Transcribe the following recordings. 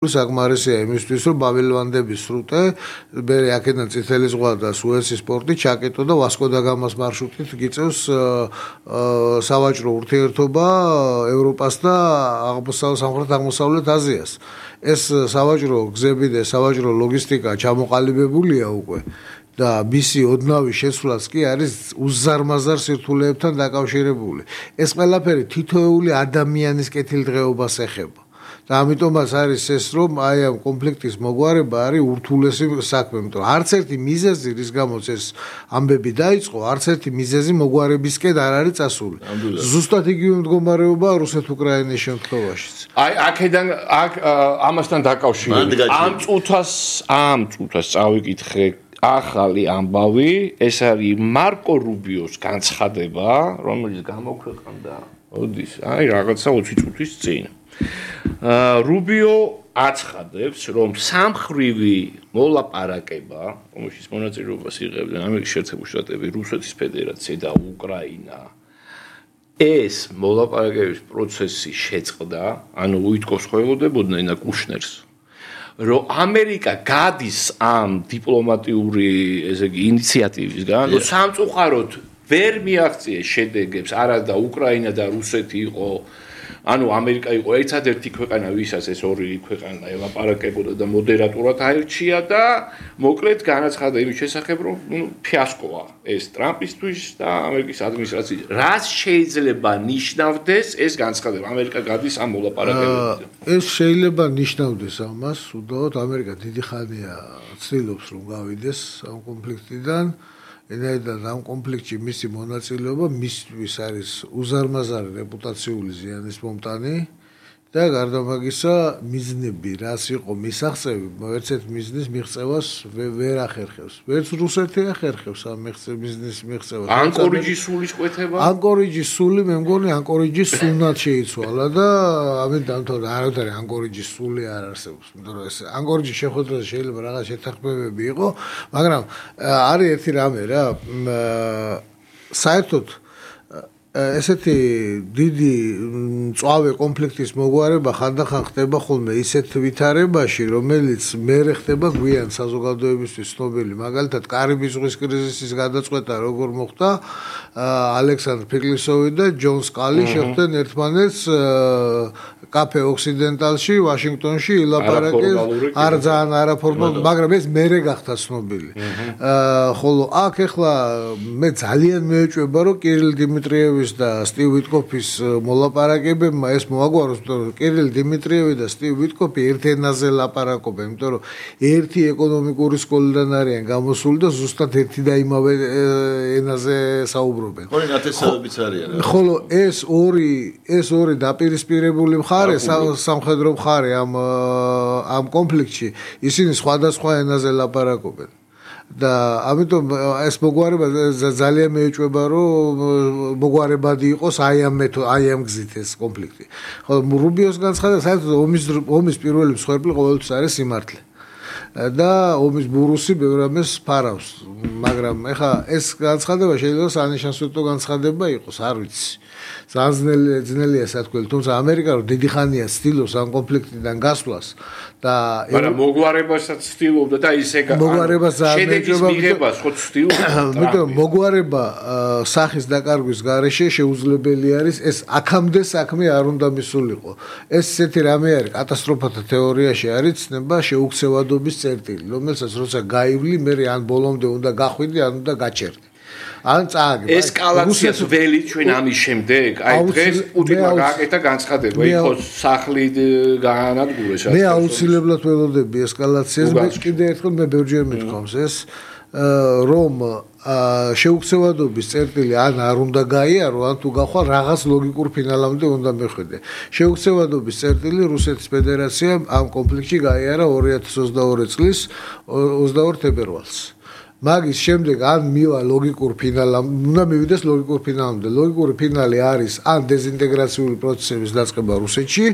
საკმარისია იმისთვის, რომ ბაბილვანდების სრუტე, მე აქედან წითელი ზღვა და სუეცის პორტი ჩაკეტო და ვასკო და გამას მარშრუტით გიწევს სავაჭრო ურთიერთობა ევროპას და სამხრეთ-აღმოსავლეთ აზიას. ეს სავაჭრო გზები და სავაჭრო ლოგისტიკა ჩამოყალიბებულია უკვე. და მისი ოდნავი შესვლაც კი არის უზარმაზარ სირთულეებთან დაკავშირებული. ეს ყველაფერი თითოეული ადამიანის კეთილდღეობას ეხება. და ამიტომაც არის ეს, რომ აი ამ კონფლიქტის მოგვარება არის ურთულესი საქმე, იმიტომ რომ არც ერთი მიზეზი, რის გამოც ეს ამბები დაიწყო, არც ერთი მიზეზი მოგვარებისკენ არ არის წასული. ზუსტად იგივე მდგომარეობაა რუსეთ-უკრაინის შემთხვევაშიც. აი აქედან ამასთან დაკავშირებით ამ წუთას წავიკითხე ახალი ამბავი, ეს არის მარკო რუბიოს განცხადება, რომელიც გამოქვეყნდა ოდის, აი რაღაცა 20 წუთის წინ. რუბიო აცხადებს, რომ სამხრივი მოლაპარაკება, რომელშიც მონაწილეობას იღებდნენ ამერიკის შეერთებული შტატები, რუსეთის ფედერაცია და უკრაინა, ეს მოლაპარაკების პროცესი შეწყდა, ანუ უიტკოს ხელმოდებოდნენ და კუშნერს, რომ ამერიკა გადის ამ დიპლომატიური, ესე იგი, ინიციატივისგან, რომ სამწუხაროდ ვერ მიაღწიეს შედეგებს, არა და უკრაინა და რუსეთი იყო ანუ ამერიკა იყო ერთადერთი ქვეყანა, ვისაც ეს ორი ქვეყანა ელაპარაკებოდა და მოდერატორად აირჩია და მოკლედ განაცხადა იმის შესახებ, რომ ფიასკოა ეს ტრამპისთვის და ამერიკის ადმინისტრაციის. რას შეიძლება ნიშნავდეს ეს განცხადება? ამერიკა გადის ამ მოლაპარაკებებზე. ეს შეიძლება ნიშნავდეს ამას, უდავოდ ამერიკა დიდი ხანია ცდილობს რომ გავიდეს ამ კონფლიქტიდან. ენაიდან ამ კონფლიქტში მისი მონაწილეობა მისთვის არის უზარმაზარი რეპუტაციული ზიანის მომტანი და გარდა მაგისა მიზნები, რაც იყო მისაღწევი, ერთ-ერთ მიზნის მიღწევას ვერ ახერხებს. ვერც რუსეთი ახერხებს ამ მიზნის მიღწევას. ანკორიჯის სულის კვეთება? ანკორიჯის სული, მე მგონი ანკორიჯის სუნად შეიცვალა და ამით დამთავრდა. არავითარი ანკორიჯის სული არ არსებობს. იმიტომ რომ ეს ანკორიჯის შეხვედრაზე შეიძლება რაღაც შეთანხმებები იყო, მაგრამ არის ერთი რამე რა, საერთოდ ესეთი დიდი მწვავე კონფლიქტის მოგვარება ხანდახან ხდება ხოლმე ისეთ ვითარებაში, რომელიც მერე ხდება გვიან საზოგადოებისთვის ცნობილი. მაგალითად, კარიბის ზღვის კრიზისის გადაწყვეტა როგორ მოხდა, ალექსანდრ ფიკლისოვი და ჯონ სკალი შეხვდნენ ერთმანეთს კაფე ოქსიდენტალში, ვაშინგტონში ილაპარაკეს, არ ძალიან არაფორმალურად, მაგრამ ეს მერე გახდა ცნობილი. ხოლო აქ ეხლა მე ძალიან მეეჭვება, რომ კირილ დიმიტრიევი და სტივ ვიტკოფის მოლაპარაკებებმა ეს მოაგვაროს, იმიტომ რომ კირილ დიმიტრიევი და სტივ ვიტკოფი ერთ ენაზე ლაპარაკობენ, იმიტომ რომ ერთი ეკონომიკური სკოლიდან არიან გამოსული და ზუსტად ერთი და იმავე ენაზე საუბრობენ. ორი ნათესავებიც არიან. ხოლო ეს ორი დაპირისპირებული მხარე, სამხედრო მხარე ამ კონფლიქტში, ისინი სხვადასხვა ენაზე ლაპარაკობენ. და ამიტომ ეს მოგვარება ძალიან მეეჭვება, რომ მოგვარებადი იყოს აი ამ გზით ეს კონფლიქტი. ხო, რუბიოს განცხადება საერთოდ ომის პირველი მსხვერპლი ყოველთვის არის სიმართლე. და ომის ბურუსი ბევრ რამეს ფარავს, მაგრამ ეხა ეს განცხადება შეიძლება სანიშანსვეტო განცხადება იყოს, არ ვიცი. ძალიან ძნელია სათქმელი, თუმცა ამერიკა რომ დიდი ხანია ცდილობს ამ კონფლიქტიდან გასვლას და მაგრამ მოგვარებასაც ცდილობდა და ისე შედეგის მიღებას ხო ცდილობდა. იმიტომ მოგვარება სახის დაკარგვის გარეშე შეუძლებელი არის, ეს აქამდე საქმე არ უნდა მისულიყო. ეს ესეთი რამე არის, კატასტროფათა თეორიაში არის ცნება შეუქცევადობის წერტილი, რომელსაც როცა გაივლი, მე ან ბოლომდე უნდა გახვიდე, ან უნდა გაჩერდე. ან წააგებ. ესკალაციას ველი ჩვენ ამის შემდეგ, აი დღეს პუტინმა გააკეთა განცხადება, იყო სახლი გაანადგურეს. მე აუცილებლად ველოდები ესკალაციას, მე კიდე ერთხელ მე ბევრჯერ მithქვამს ეს, რომ შეუქცევადობის წერტილი ან არ უნდა გაიარო, ან თუ გახვალ რაღაც ლოგიკურ ფინალამდე უნდა მეხვიდე. შეუქცევადობის წერტილი რუსეთის ფედერაციამ ამ კონფლიქტში გაიარა 2022 წლის 22 თებერვალს. მაგის შემდეგ ან მივა ლოგიკურ ფინალამდე, უნდა მივიდეს ლოგიკურ ფინალამდე. ლოგიკური ფინალი არის ან დეზინტეგრაციული პროცესების დაწყება რუსეთში,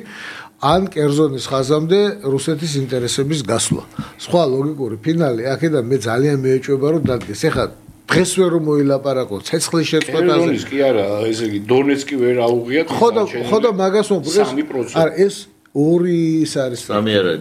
ან კერძონის ხაზამდე რუსეთის ინტერესების გასვლა. სხვა ლოგიკური ფინალი აქედან მე ძალიან მეეჭვება, რომ დადგეს. ეხლა დღეს ვერ რომ მოილაპარაკო ცეცხლის შეწყვეტაზე. კი არა, ესე იგი დონეცკი ვერ აუღიათ. ხო და მაგას ვამბობ. არა ეს 2 ის არის. 3 არა,